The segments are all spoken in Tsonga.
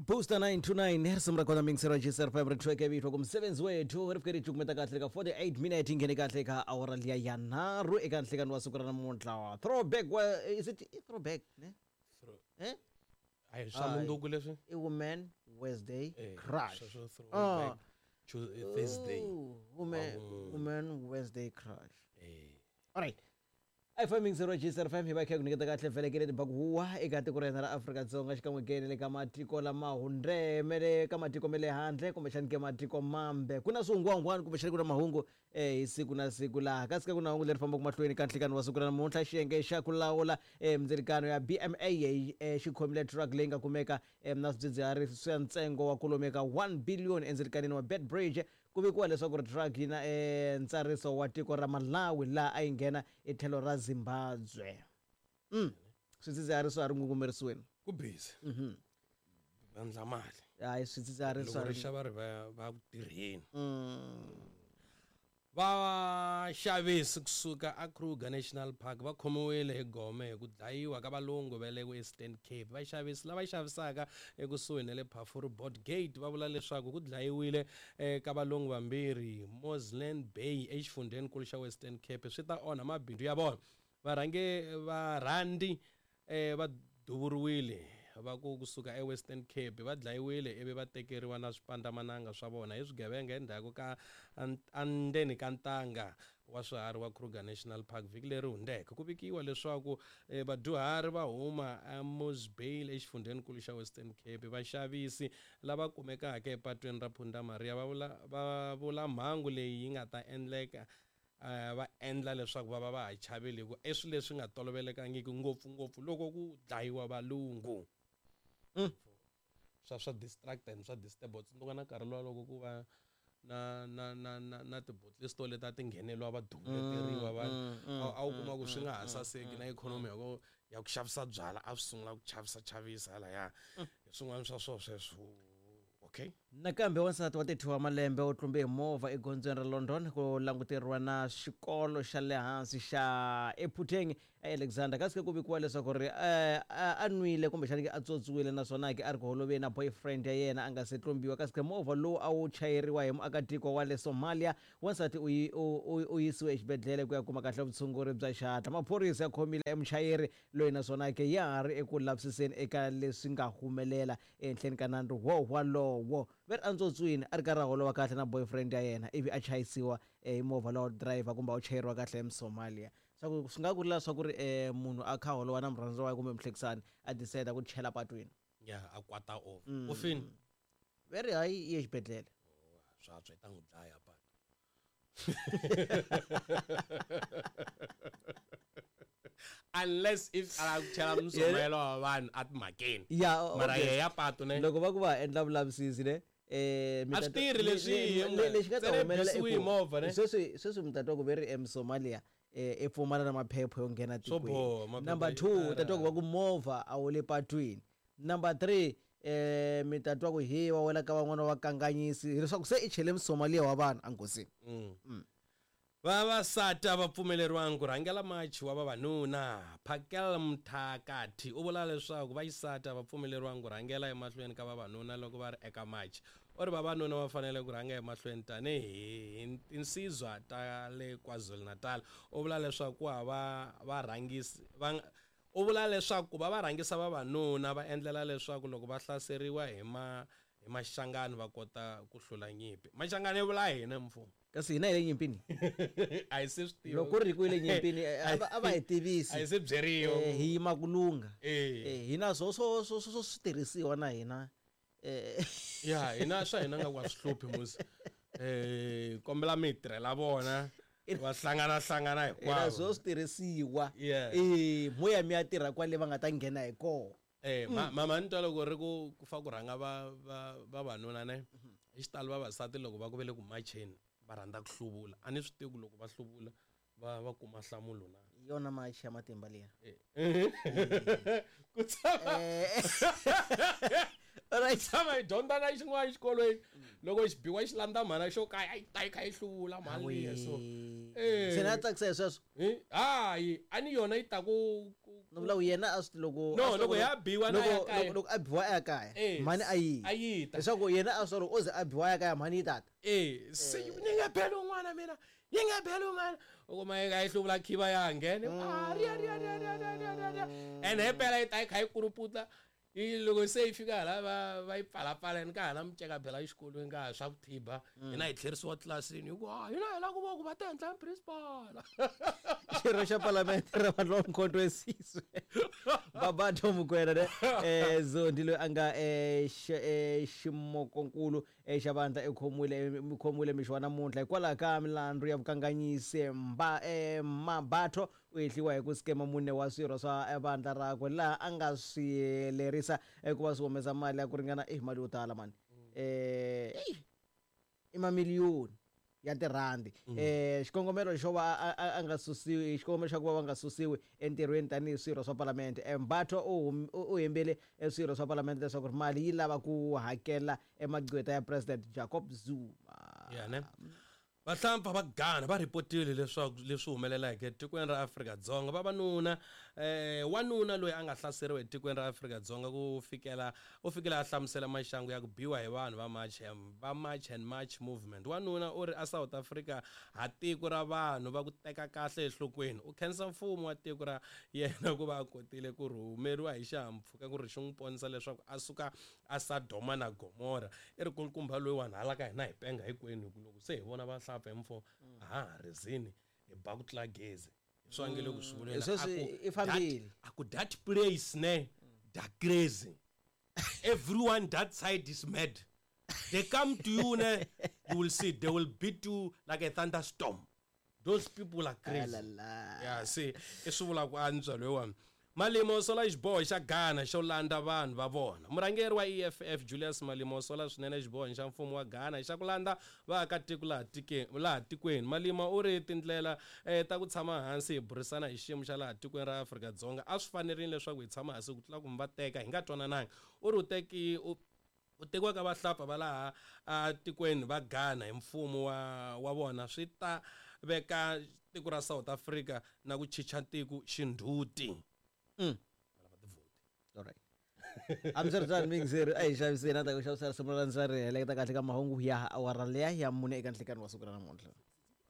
Booster 929 risimu ra kona mingisero ya GCR5 ri thweke vito ku msebenzi wethu ri fike ri cukumeta kahle ka 48 minute yi nghene kahle ka awara liya ya nharhu eka nhlekani wa siku ra namuntlha throwback wa is it i throwback ne eh a hi swa mundzuku leswi i woman Wednesday Eh, crush sweswo throwback Thursday Ooh, woman Wa woman Wednesday crush eh all right FM 0 GCR FM hi va kha ku nyiketa kahle vhelekele tibaku huwa eka tiko ra hina ra Afrika-Dzonga xikan'we ke na le ka matiko lama hundzeke le ka matiko ma le handle kumbexani ke matiko mambe ku na swihungwahungwani kumbexani ku na mahungu hi siku na siku laha kasi ka ku na hungu leri fambaka mahlweni ka nhlikani wa siku ra namuntlha xiyenge xa ku lawula mindzilikano ya BMA xi khomile truck leyi nga kumeka na swidzidziharisi swa ntsengo wa kwalomu ka 1 billion endzilikanini wa Beitbridge Ku vikiwa leswaku ri truck yi na ntsariso wa tiko ra Malawi laha a yi nghena hi tlhelo ra Zimbabwe. Swidzidziharisi swa ha ri ngungumerisiweni. Ku busy. Va endla mali. Hayi swidzidziharisi swa Loko ha ri ri xava ri va va ku tirheni. Vaxavisi kusuka a Kruger National Park va khomiwile hi gome hi ku dlayiwa ka valungu va le Western Cape. Vaxavisi lava xavisaka ekusuhi na le Phafuri Board Gate va vula leswaku ku dlayiwile ka valungu vambirhi Mosman Bay exifundzheninkulu xa Western Cape swi ta onha mabindzu ya vona. Varhange varhandi va duvuriwile va ku kusuka eWestern Cape va dlayiwile ivi va tekeriwa na swipandzamananga swa vona hi swigevenga endzhaku ka endzeni ka ntanga wa swiharhi wa Kruger National Park vhiki leri hundzeke. Ku vikiwa leswaku vadyuhari va huma eMosbale exifundzheninkulu xa Western Cape. Vaxavisi lava kumekaka epatwini ra Punda Maria va vula va vula mhangu leyi yi nga ta endleka va endla leswaku va va va ha chavile hi ku i swilo leswi nga tolovelekangiki ngopfungopfu loko ku dlayiwa valungu. Swa swa distract and swa disturb u tsundzuka na nkarhi luwa loko ku va na na na na na ti-bottle store leti a ti ngheneliwa va duvuleteriwa va a wu kuma ku swi nga ha saseki na ikhonomi ya ku ya ku xavisa byala a swi sungula ku chavisa chavisa halaya hi swin'wana swa swona sweswo. Okay. Nakambe wansati wa 32 wa malembe u tlumbe hi movha egondzweni ra London ku languteriwa na xikolo xa le hansi xa ePhutheng eAlexander kasi ke ku vikiwa leswaku ri a nwile kumbexani ke a tswotswiwile naswona ke a ri ku holoveni na boyfriend ya yena a nga se tlumbiwa kasi ke movha lowu a wu chayeriwa hi muakatiko wa le Somalia wansati u u yisiwe exibedhlele ku ya kuma kahle vutshunguri bya xihatla maphorisa ya khomile emuchayeri loyi naswona ke ya ha ri eku lavisiseni eka leswi nga humelela Ehenhleni ka nandzu wo walowo, ve ri antsotswini a ri karhi a holova kahle na boyfriend ya yena ivi a chayisiwa hi movha lowa driver kumbe a wu chayeriwa kahle hi Musomalia. Swa ku swi nga ku ri swa ku ri munhu a kha a holova na murhandziwa wa yena kumbe muhlekisani a decide ku chela patwini. Ya a kwata over. U fini? Ve ri hayi i ye xibedhlele. Swa antswa yi ta n'wi dlaya patu. Unless if a lava ku chela musomelo wa vanhu a timhakeni. Ya, Mara okay. yehe ya patu ne. Loko va ku va endla vulavisisi ne mi A ta swi tirhi leswi, lexi nga ta ntsena humelela i bisiwi hi ku movha, ne? sweswi sweswi mi ta twa ku ve ri eMsomalia i pfumala na maphepha yo nghena Swo tikweni. boha, maphepha Number yo 2 u ta twa ku tala. va ku movha a wu le patwini. Number 3 mi ta twa ku he wa wela ka van'wana va kanganyisi hileswaku se i chele Musomalia wa vanhu enghozini. Vavasati a va pfumeleriwangi ku rhangela machi wa vavanuna. Phakel Mthakathi u vula leswaku vaxisati a va pfumeleriwangi ku rhangela emahlweni ka vavanuna loko va ri eka machi. U ri vavanuna va fanele ku rhanga emahlweni tanihi tinsizwa ta le KwaZulu-Natal. U vula leswaku ku hava varhangisi va U vula leswaku ku va va rhangisa vavanuna va endlela leswaku loko va hlaseriwa hi ma hi Machangani va kota ku hlula nyimpi. Machangani i vula hina mfumo. Kasi hina hi le nyimpini? A hi se swi tiva. Loko ku ri ku hi le nyimpini a va a va hi tivisi. A hi se byeriwa. Hi yima ku lungha. Eh. Hi na swo swo swo swo switirhisiwa na hina. Ya hina swa hina nga ku a swi hluphi musi. Kombela mi hi tirhela vona. Va hlangana hlangana hinkwavo. Hina swo switirhisiwa. Yeah. Mo ya mi ya tirha kwale va nga ta nghena hi kona. Mama ni twa loko ri ku ku fa ku rhanga va va vavanuna ne. Hi xitalo vavasati loko va ku ve le ku macheni va rhandza ku hluvula. A ni swi tivi ku loko va hluvula va va kuma nhlamulo na. Hi yona machi ya matimba liya. Ku tshama. Alright. Tshama hi dyondza na xin'wana exikolweni. Loko xi biwa xi landza mhana xo kaya a yi ta yi kha yi hluvula mhani liya so. Se na tsakisa hi sweswo. Hayi, a ni yona yi ta ku ku No vula ku yena a swi loko No, loko ya biwa na ya kaya. Loko a biwa a ya kaya Eh, mhani a yi a yi ta. Leswaku yena a swi loko o ze a biwa a ya kaya mhani yi tata. E se ni nge beli un'wana mina, yi nge beli un'wana, u kuma yi nga yi hluvula khiva ya nghene. Ah, riya riya riya riya riya riya riya riya, and he pela yi ta yi kha yi kuruputla yi loko se yi fika hala va yi pfalapfala ni ka ha na miceka phela exikolweni ka ha swa ku thiba, hina hi tlherisiwa tlilasini hi ku a hina hi lava ku va ku va ta endla principal. Xirho xa palamende ra vanhu va Mkhonto weSizwe Babatho Mokoena ne Zondi loyi a nga ximokonkulu xa vandla i khomiwile mixo wa namuntlha hikwalaho ka milandzu ya vukanganyisi. Mba Mabatho u hehliwa hi ku skema mune wa swirho swa vandla rakwe laha a nga swi lerisa ku va swi humesa mali ya ku ringana mali yo tala mani, i mamiliyoni ya tirhandi. Xikongomelo xo va a nga susiwi, xikongomelo xa ku va va nga susiwi entirhweni tanihi swirho swa palamende. Mbatho u hembele swirho swa palamende leswaku mali yi lava ku hakela emagqweta ya President Jacob Zuma. Ya ne vahlampfa va Ghana va ripotile leswaku leswi humeleleke etikweni ra Afrika-Dzonga, vavanuna wanuna loyi a nga hlaseriwa etikweni ra Afrika-Dzonga ku fikela u fikile a hlamusela maxangu ya ku biwa hi vanhu va March, va March and March movement. Wanuna u ri a South Africa ha tiko ra vanhu va ku teka kahle enhlokweni. U khensa mfumo wa tiko ra yena ku va a kotile ku rhumeriwa hi xihahampfhuka ku ri xi n'wi ponisa leswaku a suka a Sodoma na Gomora. I ri kulukumba loyiwani hala ka hina hi penga hinkwenu hi ku loko se hi vona vahlapfa hi mfumo a ha ha rizini hi ba ku tlula gezi. Hi swi vangele ku swi vulela. Sweswi A ku i fambile. A ku that place ne da crazy. Everyone that side is mad. They come to you ne, you will see they will beat you like a thunderstorm. Those people are crazy. Alala. Yeah, see, i swi vula ku antswa loyiwani. Malema u sola xiboho xa Ghana xo landza vanhu va vona. Murhangeri wa EFF Julius Malema u sola swinene xiboho xa mfumo wa Ghana xa ku landza vaakatiko laha tikweni. Malema u ri tindlela ta ku tshama hansi hi burisana hi xiyimo xa laha tikweni ra Afrika-Dzonga a swi fanerile leswaku hi tshama hansi ku tlula ku mi va teka hi nga twanananga. U ri u tekiwa ka vahlapfa va laha a tikweni va Ghana hi mfumo wa vona swi ta veka tiko ra South Africa na ku chicha tiko xindzhuti. All right. Hambiswiritano mingizeri a hi xaviseni a ta ku xavisela risimu ra ndza ri heleketa kahle ka mahungu ya awara liya ya 4 eka nhlikani wa siku ra namuntlha.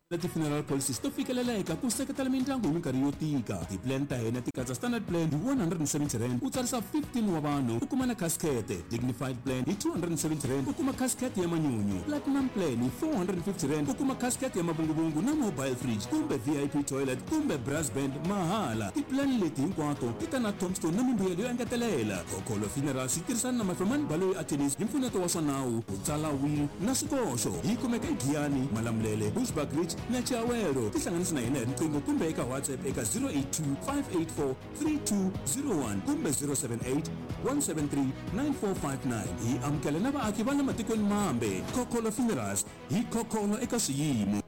Leti funeral policies to fikeleleka ku seketela mindyangu hi minkarhi yo tika. Ti-plan ta hina ti katsa standard plan hi 170 rand u tsarisa 15 wa vanhu u kuma na casket, dignified plan hi 270 rand u kuma casket ya manyunyu, platinum plan hi 450 rand u kuma casket ya mavunguvungu na mobile fridge kumbe VIP toilet kumbe brass band mahala. Ti-plan leti hinkwato ti ta na tombstone na mimbuyelo yo engetelela. Khokholo Funerals yi tirhisana na Mafemani Baloyi Attorneys hi mpfuneto wa swa nawu, ku tsala will na swikoxo. Yi kumeka eGiyani, Malamulele, Bushbuckridge na Chiawelo. Tihlanganisi na hina hi riqingho kumbe eka WhatsApp eka 082 584 3201 kumbe 078 173 9459. Hi amukela na vaaki va le matikweni mambe. Khokholo Funerals hi khokholo eka swiyimo.